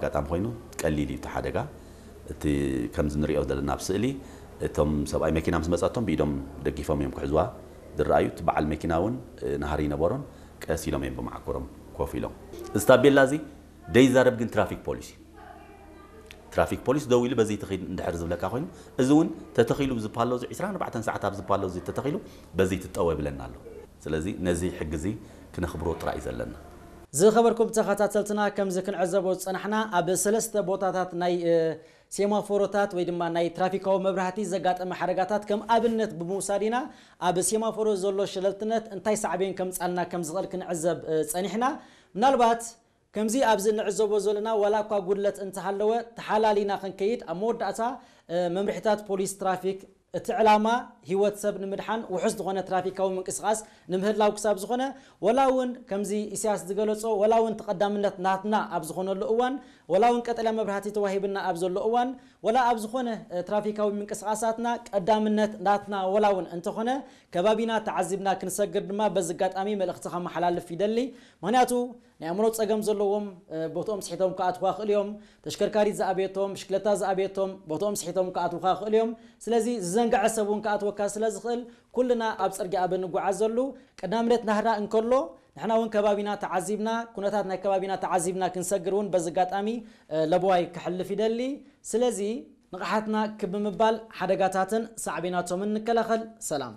ኣጋጣሚ ኮይኑ ቀሊል እዩ እቲ ሓደጋ። እቲ ከምዚ ንሪኦ ዘለና ኣብ ስእሊ፣ እቶም ሰብኣይ መኪና ምስ መጻቶም ብኢዶም ደጊፎም እዮም ክሕዝዋ ዝረኣዩ። እቲ በዓል መኪና እውን ናሃሪ ይነበሮን ቀስ ኢሎም እዮም ብመዓኮሮም ኮፍ ኢሎም። እዚ ታቤላ እዚ ደይዛረብ ግን ትራፊክ ፖሊስ እዩ። ትራፊክ ፖሊስ ደው ኢሉ በዚ ትኺድ እንድሕር ዝብለካ ኮይኑ፣ እዚ እውን ተተኺሉ ኣብዚ ፓሎ እዚ ዕስራን ኣርባዕተን ሰዓት ኣብዚ ፓሎ እዚ ተተኺሉ በዚ ትጠወ ይብለና ኣሎ። ስለዚ ነዚ ሕጊ እዚ ክነኽብሮ ጥራይ እዩ ዘለና። ዝኸበርኩም ተኸታተልትና፣ ከምዚ ክንዕዘቦ ዝጸናሕና ኣብ ሰለስተ ቦታታት ናይ እ፣ ሴማፎሮታት ወይ ድማ ናይ ትራፊካዊ መብራህቲ ዘጋጠመ ሓደጋታት ከም ኣብነት ብምውሳድ ኢና። ኣብ ሴማፎሮ ዘሎ ሸለልትነት እንታይ ሳዕቤን ከምጻልና ከም ዝኽእል ክንዕዘብ እ፣ ጸኒሕና። ምናልባት ከምዚ ኣብዚ እንዕዘቦ ዘለና ዋላ እኳ ጉድለት እንተሃለወ ተሓላሊና ክንከይድ ኣብ መወዳእታ እ፣ መምርሒታት ፖሊስ ትራፊክ እቲ ዕላማ ህይወት ሰብ ንምድሓን ውሑስ ዝኾነ ትራፊካዊ ምንቅስቓስ ንምህላው ክሳብ ዝኾነ፣ ወላ እውን ከምዚ ኢሳያስ ዝገለጾ፣ ወላ እውን ተቐዳምነት ናትና ኣብ ዝኾነሉ እዋን፣ ወላ እውን ቀጠልያ መብራህቲ ተዋሂብና ኣብ ዘሎ እዋን፣ ወላ ኣብ ዝኾነ እ፣ ትራፊካዊ ምንቅስቓሳትና ቀዳምነት ናትና ወላ እውን እንተኾነ፣ ከባቢና ተዓዚብና ክንሰግር ድማ በዚ ኣጋጣሚ መልእኽቲ ከመሓላልፍ ይደሊ። ምኽንያቱ ናይ ኣእምሮ ጸገም ዘለዎም እ፣ ቦትኦም ስሒቶም ክኣትዋ ይኽእሉ እዮም። ተሽከርካሪት ዝኣበየቶም፣ ብሽክለታ ዝኣበየቶም ቦትኦም ስሒቶም ክኣትውካ ይኽእሉ እዮም። ስለዚ ዝዘንግዐ ሰብ እውን ክኣትወካ ስለ ዝኽእል፣ ኩልና ኣብ ጽርግያ ኣብ እንጓዓዘሉ ቀዳምነት ናህራ እንከሎ፣ ንሕና እውን ከባቢና ተዓዚብና፣ ኩነታት ናይ ከባቢና ተዓዚብና ክንሰግር እውን በዚ ኣጋጣሚ እ፣ ለበዋይ ከሕልፍ ይደሊ። ስለዚ ንቕሓትና ክብ ብምባል ሓደጋታትን ሳዕቤናቶምን ንከላኸል። ሰላም።